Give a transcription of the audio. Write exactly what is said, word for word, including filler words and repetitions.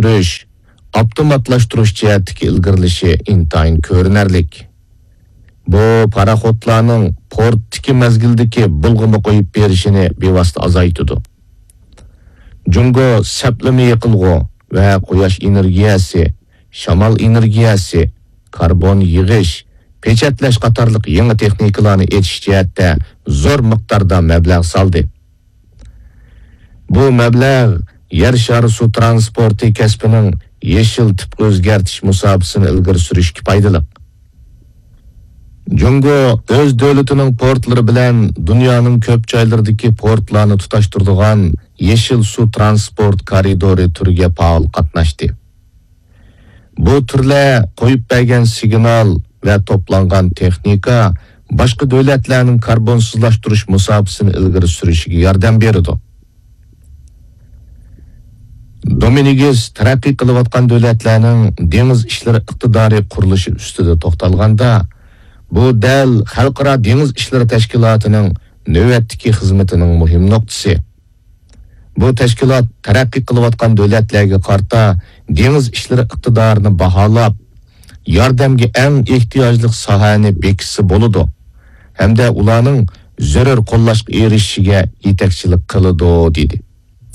ئۆستۈرۈش، ئاپتوماتلاشتۇرۇش جەھەتتىكى ئىلگىرىلىشى ئىنتايىن كۆرۈنەرلىك. بۇ پاراخوتلارنىڭ پورتتىكى مەزگىلدىكى بۇلغىما قويۇپ بېرىشىنى بىۋاسىتە ئازايتىدۇ. جۇڭگو سەپلىمە يېقىلغۇ ۋە قۇياش ئېنېرگىيەسى، شامال ئېنېرگىيەسى، كاربون يىغىش، پېچەتلەش قاتارلىق يېڭى تېخنىكىلارنى ئېچىش جەھەتتە زور مىقداردا مەبلەغ سالدى. بۇ مەبلەغ يەر شارى سۇ ترانسپورتى كەسپىنىڭ يېشىل تىپقا ئۆزگەرتىش مۇساپىسىنى ئىلگىرى سۈرۈشكە پايدىلىق. جۇڭگو ئۆز دۆلىتىنىڭ پورتلىرى بىلەن دۇنيانىڭ كۆپ جايلىرىدىكى پورتلارنى تۇتاشتۇرىدىغان يېشىل سۇ ترانسپورت كارىدورى تۈرىگە پائال قاتناشتى. بۇ تۈرلەر قويۇپ بەرگەن سىگنال ۋە توپلانغان تېخنىكا باشقا دۆلەتلەرنىڭ كاربونسىزلاشتۇرۇش مۇساپىسىنى ئىلگىرى سۈرۈشىگە ياردەم بېرىدۇ. دومىنىگىس تەرەققىي قىلىۋاتقان دۆلەتلەرنىڭ دېڭىز ئىشلىرى ئىقتىدارى قۇرۇلۇشى ئۈستىدە توختالغاندا، بۇ دەل خەلقئارا دېڭىز ئىشلىرى تەشكىلاتىنىڭ نۆۋەتتىكى خىزمىتىنىڭ مۇھىم نۇقتىسى. بۇ تەشكىلات تەرەققىي قىلىۋاتقان دۆلەتلەرگە قارىتا دېڭىز ئىشلىرى ئىقتىدارىنى باھالاپ، ياردەمگە ئەڭ ئېھتىياجلىق ساھەنى بېكىتسە بولىدۇ ھەمدە ئۇلارنىڭ زۆرۈر قوللاشقا ئېرىشىشىگە يېتەكچىلىك قىلىدۇ، دېدى.